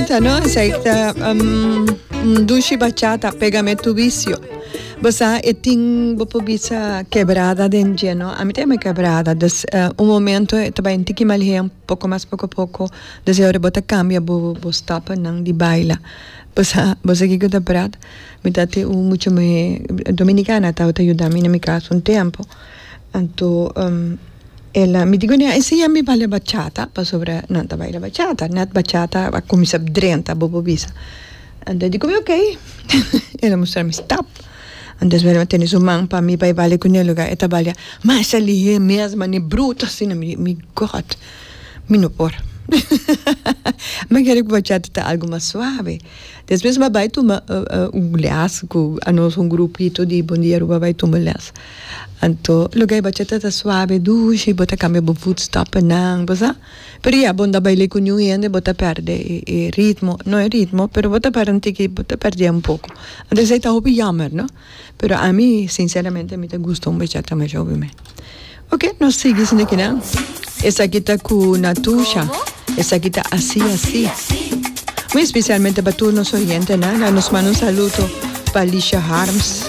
Bachata, no? Esei ta um, un dushi bachata, Pégame tu vicio. Bo sa, e tin, bo por bisa quebrada den dje, no? Ami ta yama quebrada. Dus, eh, un momento e ta bai un tiki malhé, un poko mas poko poko. Dus e ora bo ta cambia bo, bo stappennan di baila. Bo sa, bo sa kiko ta prat? Mi ta tin un mucha muhé dominicana tabata yuda mi na mi cas un tempo. Anto, um. El a, mi di kuné, a enseñá mi baila bachata, pasobra nan ta baila bachata, nèt bachata a kuminsá drenta, bo por bisa. Anto e di ku mi okey. El a mustra mi stap. Anto despues el a tene su man pa mi bai baila kuné lugá e ta baila masha lihé mes, manera bruto asina. Mi di, mi God, mi no por. Mi kere ku bachata ta algu mas suave. Despues mi a bai tuma un les ku anos un grupito di Bon Dia Aruba a bai tuma les. Anto loke e bachata ta suave dushi bo ta cambia bo voetstappennan bo sa pero ya bo no ta baila cu niun hende bo ta perde e ritmo no e ritmo pero bo ta perde un tiki bo ta perde un poco anto esey ta hopi jammer no pero ami sinceramente mi ta gusta un bachata masha hopi me ok nos sigui esaki kinan esaki ta cu Natusha esaki ta asi asi muy especialmente pa tur nos oyentenan nos manda un saludo pa Lisha Harms.